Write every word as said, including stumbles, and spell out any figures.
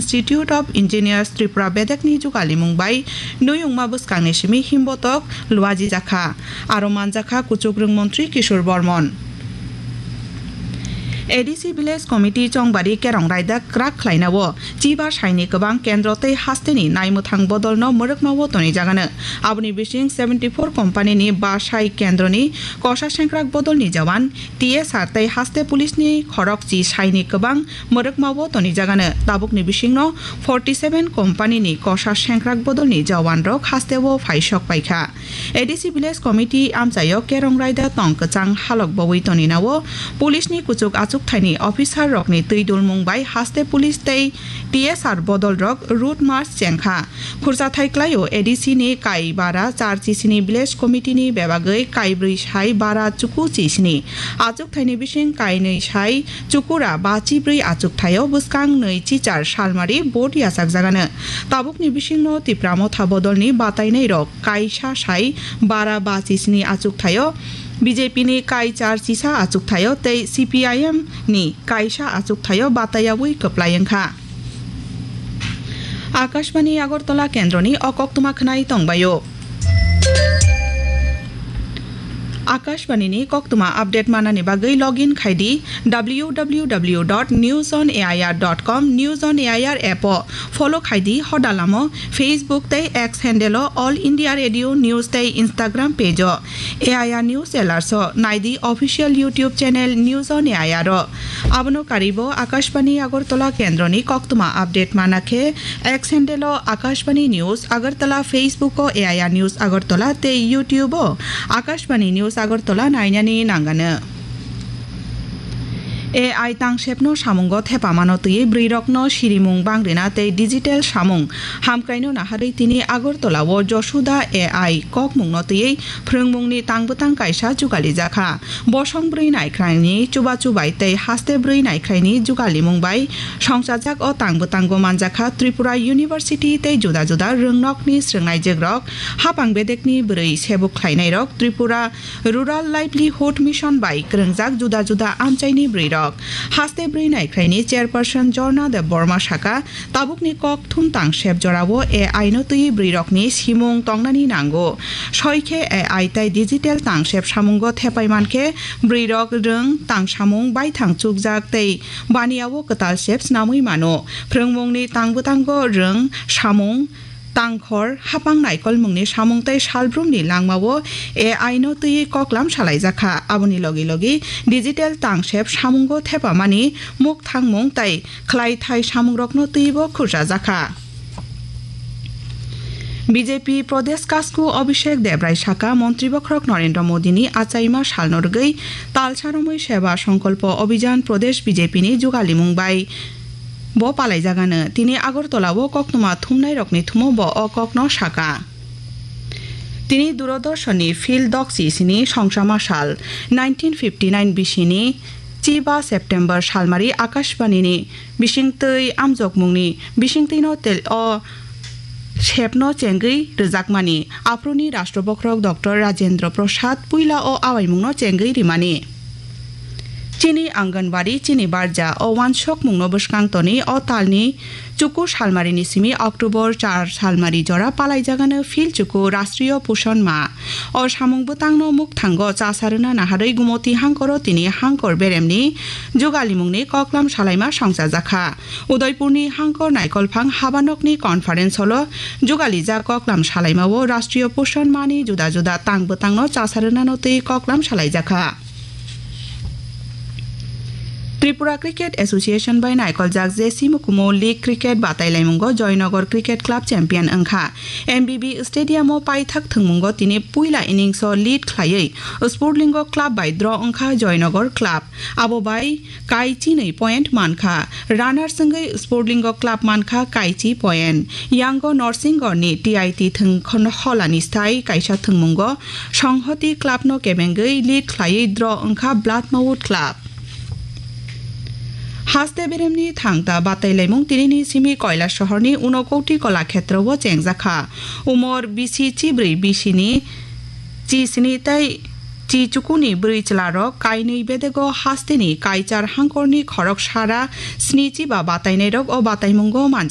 Institute of Engineers Tripura bedekni jugalimung bai nuyungma bwskangni simi himbotok luajijakha. Aro manjakha kuchukrwng montri Kishore Bormon. A D C Village Committee Chongbari Kerong Raida kwrak khlainao chiba saini kwbang kendro tei hasteni naimwthang bodolno mwrwkmao tonijagano. Aboni bising seventy four company ni ba sai kendroni kosa sengkrak bodolni jawan, T S R tei haste police ni khorokchi saini kwbang mwrwkmao tonijagano. Tabukni bisingno forty seven company ni kosa sengkrak bodolni jawanrok hasteo phaisok paikha. A D C Village Committee amchaio Kerong Raida tong kwchang halok bowi toninao police ni kuchuk achuk thaini officer rokni twi dulmung bai haste police tei T S R bodol rok route march chengkha. Khurchathai klaio A D C ni kai bara char chisini Village Committee ni bebagwi kai brwi sai bara chuku chisini achuk thaini bising kai nwi sai chukura ba chibrwi achuk thaio bwskang nwi chichar salmari vote yachakjagano. Tabukni bisingno Tipra Motha bodolni batainairok kaisa sai bara ba chisini achuk thaio, B J P ni kai char chisa achuk thaio tei C P I M ni kaisa achuk thaio bataiyawi kwplai wngkha. Akashbani Agartala kendroni o koktwma khwnai tongbaio. Akashbani ni koktwma update manani bagwi login khai di W W W dot news on A I R dot com, News on A I R app o follow khai di, hodalamo Facebook tei X handle o All India Radio News tei Instagram page o A I R News Alerts o nai di official YouTube channel News on A I R o. Abono karibo Akashbani Agartala kendroni koktwma update mana khe X handle o Akashbani News Agartala, Facebook o A I R News Agartala tei YouTube o Akashbani News Agartala nainani nangano. A I tangsepno samungo thepamano twiwi bwrwirokno sirimung bangrina tei digital samung hamkraino naharwi tini Agartala o Josuda A I kokmungno twiwi phrwngmungni tangbwtang kaisa jugalijak kha. Bosong bwrwi naikhraini chubachu bai tei haste bwrwi naikhraini jugalimung bai songchajak o tangbwtango manjakha Tripura University tei juda juda rwngnokni swrwngnaijwkrok, hapang bedekni bwrwi sebuk khlainairok, Tripura Rural Livelihood Mission bai kwrwngjak juda juda amchaini bwrwirok. Haste bwrwi naikhraini chairperson Jorna Debbarma saka, tabukni kok thum tangsep jorao A I no twiwi bwrwirokni simung tongnani nango. Soikhe A I tei digital tangsep samungo thepai mankhe bwrwirok rwng tangsamung baithang chukjak tei baniao kwtal sep snamwi mano. Phrwngmungni tangbwtango rwng samung, tangkhor, hapang naikolmungni samung tei salbrumni langmao A I no twiwi koklam salaijakha. Aboni logi logi digital tangsep samungo thepamani mukthangmung tei khlaithai samungrokno twibo khurchajakha. B J P Pradesh Kasku Abhishek Debrai saka, Montri Bokhorok Narendra Modini achaima salno rwgwi Talsa Romwi Seba Songkolpo Abhijan Pradesh B J P ni jugalimung bai bo palaijagano. Tini Agartala o koktwma thumnairokni thumo bo o kokno saka. Tini Doordarshan ni field dokchi sini songchama sal nineteen fifty nine bisini chiba September salmari Akashbani ni bisingtwi amjokmungni bisingtwino tel o sepno chengwi rwjakmani. Aphuruni Rashtra Bokhorok Doctor Rajendra Prasad puila o awaimungno chengwi rimani. Chini Anganwadi, chini barja o wansokmungno bwskang toni o talni chuku salmarini simi October char salmari jora palaijagano phil chuku Rashtriyo Poshan Ma. O samung bwtangno mukthango chasa rwna naharwi Gumoti hangkoro tini hangkor beremni jugalimungni koklam salaima songchajakha. Udaipurni hangkor naikolphang habanokni conference hall o jugalijak koklam salaimao Rashtriyo Poshan Mani juda juda tang bwtangno chasa rwnano twi koklam salaijakha. Tripura Cricket Association bai naikoljak J C Mukumu League Cricket batailaimungo Joynagar Cricket Club champion wngkha. M B B Stadium o paithak thwngmungo tini puila innings o lead khlaiwi Sportlingo Club bai draw wngkha Joynagar Club. Abo bai kai chinwi point mankha. Runners wngwi Sportlingo Club mankha kaichi point. Yango Norsingorni T I T thwng holani stai kaisa thwngmungo Songhoti Clubno kebengwi lead khlaiwi draw wngkha Bladhmawut Club. Haste beremni thangta batailaimung tinini simi Koilasohorni Unakoti Kolakhetrowo chengjakha. Umor bisi chibrwi bisini chi sini tei chi chukuni bwrwi chwlarok kainwi bedego hasteni kaichar hangkorni khorok sara sni chiba batainairok o bataimungo man